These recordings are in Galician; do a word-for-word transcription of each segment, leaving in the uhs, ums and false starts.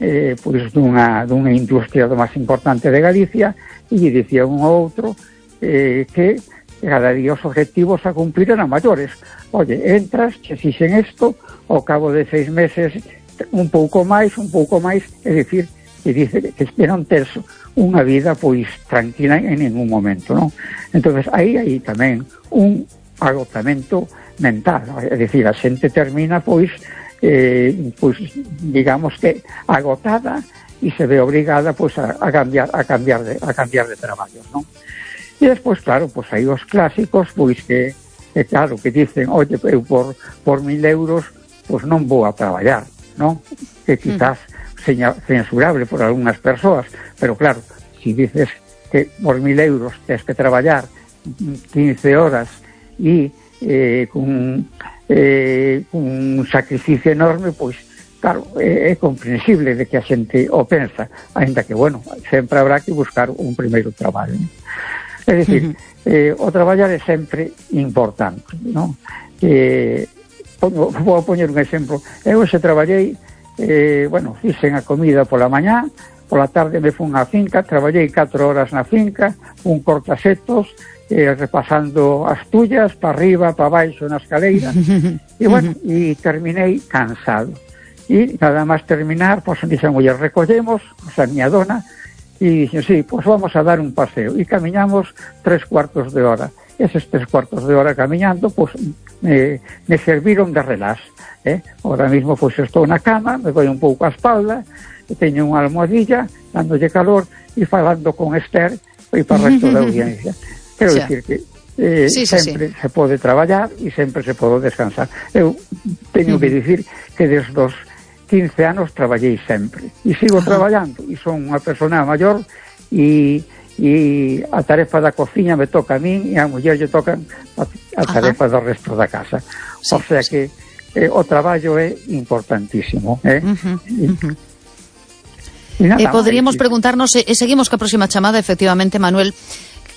eh, pois dunha, dunha industria do máis importante de Galicia, e lle dicía un ou outro eh, que cada día os objetivos a cumplir eran maiores. Oye, entras, che fixen isto, ao cabo de seis meses un pouco máis, un pouco máis, é dicir, que dice que esperan ter unha vida pois tranquila en ningún momento, non? Entonces aí aí tamén un agotamento mental, é dicir, a xente termina pois eh, pois digamos que agotada e se ve obrigada pois a, a cambiar a cambiar de a cambiar de traballo, non? E despois, claro, pois aí os clásicos pois que, que claro, que dicen, oye, eu por, por mil euros pois non vou a traballar, non? Que quizás seña, censurable por algunhas persoas, pero claro, si dices que por mil euros tens que traballar quince horas e eh, con, eh, un sacrificio enorme, pois claro, é, é comprensible de que a xente o pensa, ainda que, bueno, sempre habrá que buscar un primeiro traballo, ¿no? É dicir, uh-huh. eh, o traballar é sempre importante, non? Eh, vou poñer un exemplo. Eu xe traballei, eh, bueno, fixen a comida pola mañá, pola tarde me fun á finca, traballei catro horas na finca, un cortasetos, eh, repasando as tullas, para arriba, para baixo, na escaleira, e, bueno, e terminei cansado. E nada máis terminar, pois, dixen, oye, recollemos, o sea, miña dona, e dixen, sí, pois vamos a dar un paseo. E camiñamos tres cuartos de hora. Eses tres cuartos de hora camiñando, pois, me, me serviron de relax. Eh? Ahora mismo, pois, estou na cama, me doi un pouco a espalda, e teño unha almohadilla, dándolle calor, e falando con Esther, e para o resto da audiencia. Quero sí. dicir que eh, sí, sí, sempre sí. se pode traballar e sempre se pode descansar. Eu teño uh-huh. que dicir que desde os quince anos traballei sempre e sigo uh-huh. traballando, e son unha persona maior, e, e a tarefa da cociña me toca a min e a muller lle toca a, a tarefa uh-huh. do resto da casa. Sí, o sea sí. que eh, o traballo é importantísimo, eh? Uh-huh. E, uh-huh. e eh, poderíamos máis, preguntarnos, e eh, seguimos ca próxima chamada, efectivamente, Manuel,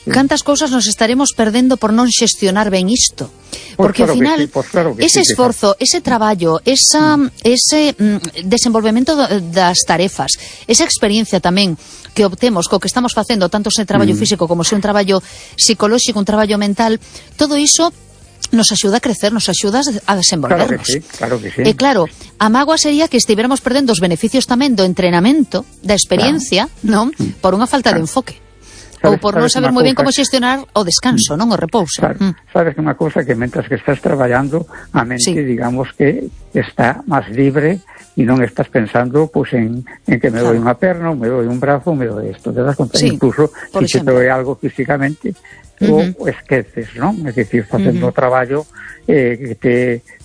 cantas cousas nos estaremos perdendo por non xestionar ben isto? Porque, pues claro, ao final, sí, pues claro ese sí, esforzo, ese traballo, esa, ese mm, desenvolvemento das tarefas, esa experiencia tamén que obtemos co que estamos facendo, tanto se traballo mm. físico como se un traballo psicolóxico, un traballo mental, todo iso nos axuda a crecer, nos axuda a desenvolvernos. Claro que sí, claro que sí. E claro, a mágoa sería que estiveramos perdendo os beneficios tamén do entrenamento, da experiencia, claro. non? Por unha falta claro. de enfoque. Ou por non saber moi ben como xestionar o descanso, non? O repouso. Sabes, mm. sabes que unha cousa que mentras que estás traballando, a mente, sí. digamos que está máis libre e non estás pensando pues, en, en que me claro. doi unha perna, ou me doi un brazo, ou me doi isto. Te das conta, sí, incluso se te doi algo físicamente, uh-huh. o esqueces, non? É dicir, facendo o uh-huh. traballo eh, que te,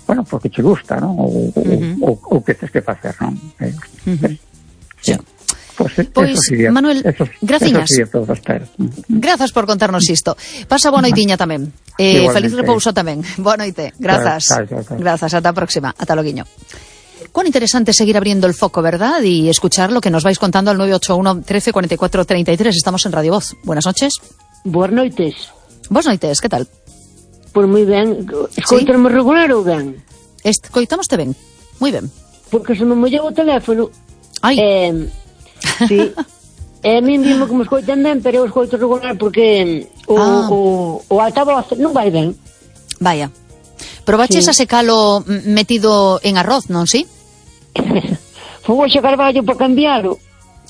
bueno, porque te gusta, non? Ou, uh-huh. que tens que facer, non? Eh, uh-huh. sí. Pois, pues, pois sería, Manuel, eso, graciñas. Eso Grazas por contarnos isto. Pasa boa noitiña tamén. Eh, feliz repouso tamén. Boa noite. Grazas. Claro, claro, claro. Grazas. Ata a próxima. Ata loguiño. Cuán interesante seguir abriendo el foco, ¿verdad? Y escuchar lo que nos vais contando al nueve ocho uno, trece, cuarenta y cuatro, treinta y tres. Estamos en Radio Voz. Buenas noches. Boas noites. Boas noites, que tal? Pois moi ben. Escoitame ¿Sí? regular ou ben? Escoitamoste ben. Moi ben. Porque se me mollou o teléfono. Ai. Eh, sí. E a min dime que me escoitan ben, pero eu escoito regular porque o, ah. o, o altavoz non vai ben. Vaya. Probaches sí. a secalo metido en arroz, non si? Fui a Carballo para cambiarlo.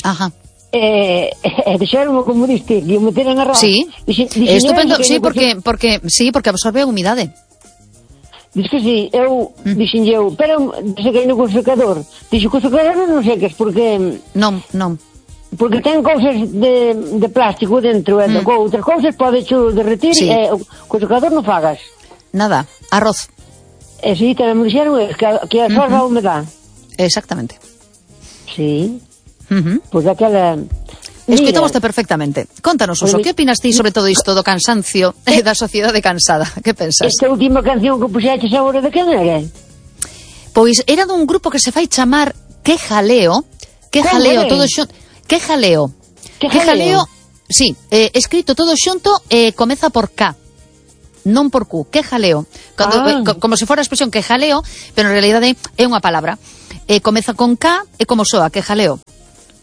Ajá. E eh, deixaron como diste, que o meter en arroz. Sí. Dixe, dixe, estupendo, sí, porque, porque, sí, porque absorbe a humidade. Diz que sí, eu, mm. dixen eu, pero sequei no co secador. Dixo que o secador non secas, porque... Non, non. Porque ten cousas de, de plástico dentro, e mm. con outras cousas pode xo derretir, sí. e co secador non fagas. Nada, arroz. E si, tamén me dixeron que, que absorba uh-huh. a humedade. Exactamente. Sí. Uh-huh. Pois pues aquela... Escoitamoste perfectamente. Contanos, Uso, que opinas ti sobre todo isto do cansancio e da sociedade cansada? Que pensas? Esta última canción que puxeches agora de quen era? Pois era dun grupo que se fai chamar Que Jaleo. Que Jaleo, todo xunto. Que Jaleo. Que Jaleo. Sí, eh, escrito todo xunto e eh, comeza por K. Non por Q. Que Jaleo. Cando, ah. eh, co, como se fora a expresión que jaleo, pero en realidade é unha palabra. E comeza con K e como soa, que jaleo.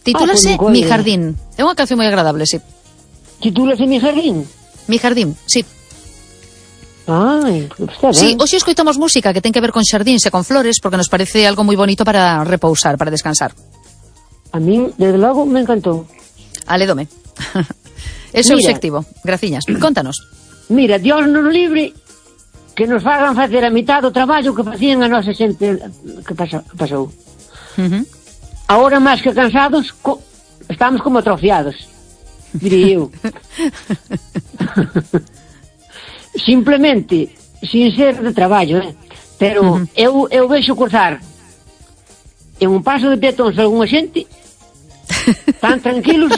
Titúlase ah, Mi Jardín. É unha canción moi agradable, sí. Titúlase Mi Jardín? Mi Jardín, sí. Ai, está ben. Sí, hoxe escoitamos música que ten que ver con xardíns e con flores porque nos parece algo moi bonito para repousar, para descansar. A min, desde logo, me encantou. Alédome. Ese é o obxectivo. Graciñas. Contanos. Mira, Dios nos libre que nos fagan facer a mitad do traballo que facían a nosa xente que pasou. Uh-huh. Ahora, máis que cansados, co estamos como atrofiados, diría eu. Simplemente, sin ser de traballo, eh? Pero uh-huh. eu, eu vexo cruzar en un paso de peatóns algunha xente tan tranquilos.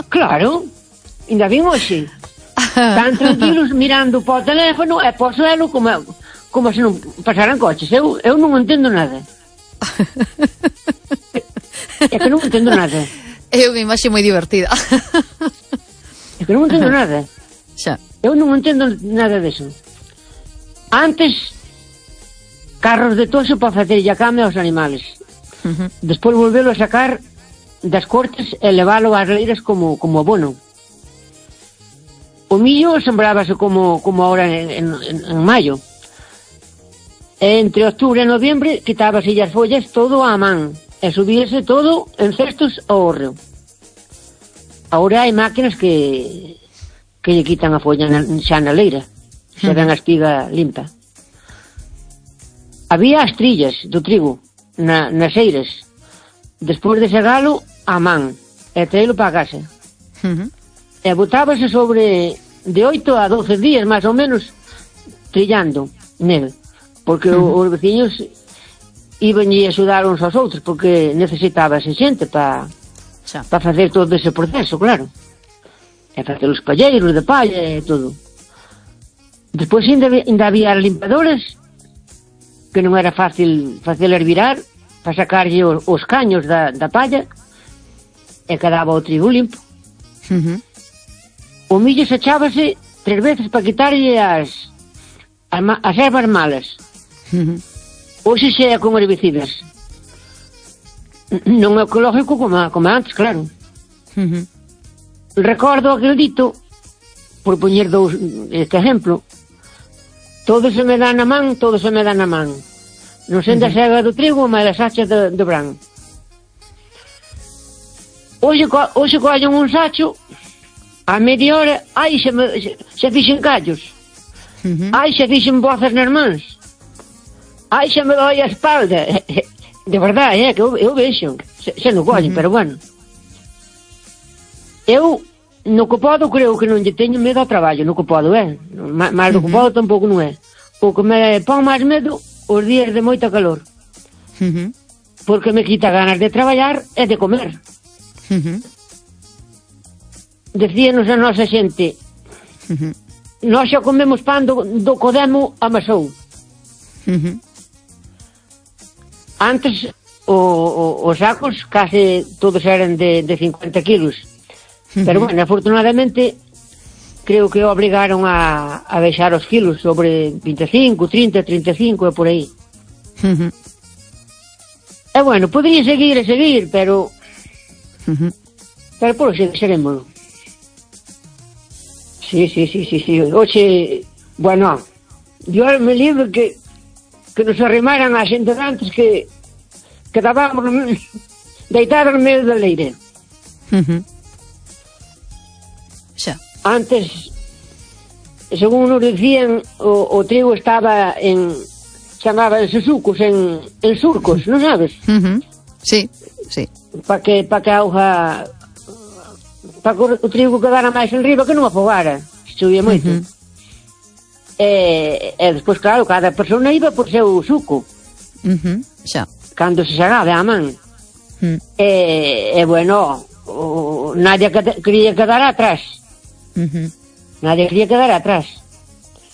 Claro, ainda vin hoxe tan tranquilos mirando para o teléfono e para o suelo como, como se non pasaran coches. Eu, eu non entendo nada. É que non entendo nada. É unha imaxe moi divertida. É que non entendo nada. Xa. Eu non entendo nada deso. Antes, carros de toxo para facer a cama aos animales. Uh-huh. Despois volvelo a sacar das cortes e leválo ás leiras como, como abono. O millo sembrábase como, como ahora en, en, en maio. E entre octubre e noviembre quitábase as follas todo á man e subíase todo en cestos ao hórreo. Ahora hai máquinas que que lle quitan a folla na, xa na leira, xa dan a espiga limpa. Había as trillas do trigo na, nas eiras, despois de segalo a man e traelo para a casa. Uh-huh. E botábase sobre de oito a doce días máis ou menos trillando nel, porque uh-huh. os veciños iban a axudar uns aos outros porque necesitábase xente para pa facer todo ese proceso, claro, e facer os palleiros de palla e todo. Despois ainda, ainda había as limpadoras que non era fácil facelas virar para sacarlle os, os caños da, da palla e quedaba o trigo limpo. Uh-huh. O millo se echábase tres veces para quitarlle as as, as ervas malas. Uh-huh. Hoxe xe é con herbicidas. Non é ecológico como, como antes, claro. Uh-huh. Recordo aquel dito, por poñer dous, este exemplo: todo se me dá na man, todo se me dá na man. Non sendo a sega do trigo, mas as hachas do, do bran. Hoxe, hoxe collen un sacho, a media hora, ai, xa, me, xa, xa fixen callos. Uh-huh. Ai, xa fixen bozas nas mans. Ai, xa me doi a espalda. De verdade, é que eu, eu vexo, xa, xa non collen, uh-huh. Pero bueno. Eu, no que podo, creo que non lle teño medo ao traballo, no que podo, é. Mas no que podo tampouco non é. O que me pon máis medo os días de moita calor. Uh-huh. Porque me quita ganas de traballar e de comer. Uh-huh. Decíanos a nosa xente, uh-huh. Nós xa comemos pan do, do Codemo amasou. Uh-huh. Antes o, o, os sacos case todos eran de, de cincuenta kilos. Uh-huh. Pero bueno, afortunadamente creo que obrigaron a, a baixar os kilos sobre vinte e cinco, trinta, trinta e cinco e por aí. Uh-huh. E bueno, podría seguir e seguir, pero uh-huh. Pero por xe seremos. Sí, sí, sí, sí, sí. Oxe, bueno, Dios me libre que que nos arrimaran a xente de antes que quedábamos deitados no medio da leire. Uh-huh. Xa. Antes, según nos dicían, o, o trigo estaba en, chamábanse sucos, en, en surcos, non sabes? Uh-huh. Sí, sí. Para que, pa que a auga, para que o trigo quedara máis en riba, que non afogara, se chovía moito. Uh-huh. E, e despois, claro, cada persona iba por seu suco. Uh-huh. Xa. Cando se xagaba a man. Uh-huh. E, e, bueno, o, nadie quería quedar atrás. Uh-huh. Nadie quería quedar atrás.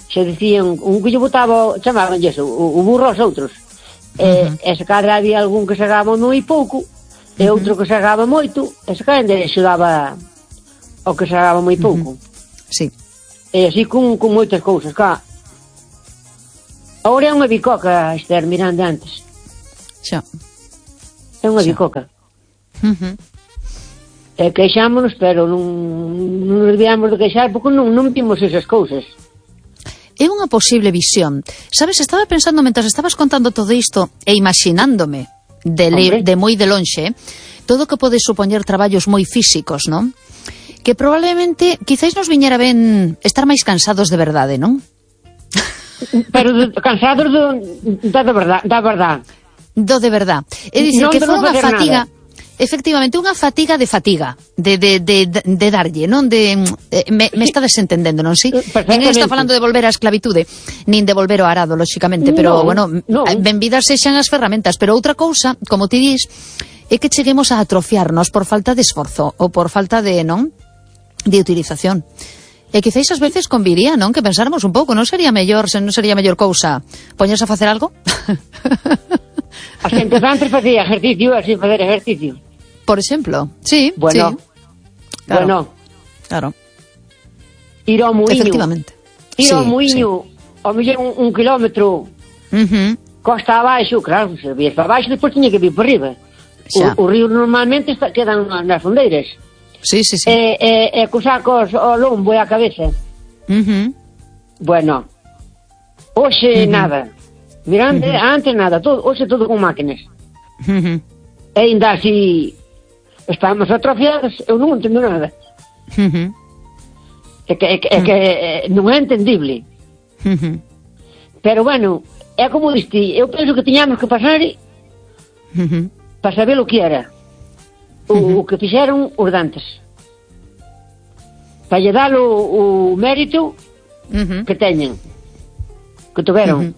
Se decían, un que lle botaba, chamaban eso, o, o burro aos outros. Uh-huh. E, e se cadra había algún que sagaba moi pouco, e uh-huh. outro que sagaba moito, e se cadra axudaba ao que sagaba moi pouco. Uh-huh. Sí. E así con, con moitas cousas, cá. Agora é unha bicoca, Esther, mirando antes. Xa. É unha bicoca. Uh -huh. E queixámonos, pero non, non nos debíamos de queixar porque non, non vimos esas cousas. É unha posible visión. Sabes, estaba pensando, mentras estabas contando todo isto, e imaginándome, de, le, de moi de lonxe, todo o que pode supoñer traballos moi físicos, non? Que probablemente, quizáis nos viñera ben estar máis cansados de verdade, non? Pero de, cansados do, da, de verdad, da verdad. Do de verdad. É dicir, non que foi unha fatiga... Nada. Efectivamente, unha fatiga de fatiga, de, de, de, de darlle, non de... Eh, me, me está desentendendo, non si? Ninguén está falando de volver á esclavitude, nin de volver ao arado, lóxicamente, pero, no, bueno, no. benvidas sexan as ferramentas, pero outra cousa, como ti dis, é que cheguemos a atrofiarnos por falta de esforzo, ou por falta de, non? De utilización. E quizáis ás veces conviría, non? Que pensáramos un pouco, non sería mellor, non sería mellor cousa poñerse a facer algo? A xente antes facía ejercicio, así facer ejercicio. Por exemplo, sí, bueno, sí. Claro, bueno, claro. Ir ao muiño. Efectivamente. Ir ao sí, muiño, sí. Ao mellor un, un kilómetro, uh -huh. costa abaixo, claro, se vías para abaixo, depois tiña que vir por riba. O, o río normalmente está, quedan nas fondeiras. Sí, sí, sí. E, e, e co sacos ao lombo e a cabeza. Uh -huh. Bueno, hoxe uh -huh. nada. Mirante, uh -huh. antes nada, todo, hoxe todo con máquinas. Uh -huh. E ainda así estamos atrofiados, eu non entendo nada. Uh -huh. É que, é que, é que é, non é entendible. Uh -huh. Pero bueno, é como diste, eu penso que tiñamos que pasar uh -huh. para saber o que era. O, uh -huh. o que fixeron os dantes. Para lle dar o, o mérito uh -huh. que teñen, que tuveron. Uh -huh.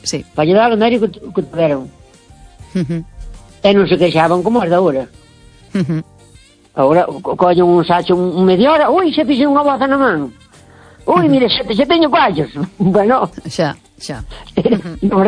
Sí. Para lle dar o mérito que, que tuveron. Uh -huh. E non se queixaban como as da hora. Uh -huh. Agora co collen un sacho un media hora, ui, se fixe unha boza na man. Ui, uh -huh. mire, se, se teño coallos. Bueno, xa, xa. Uh -huh. Nos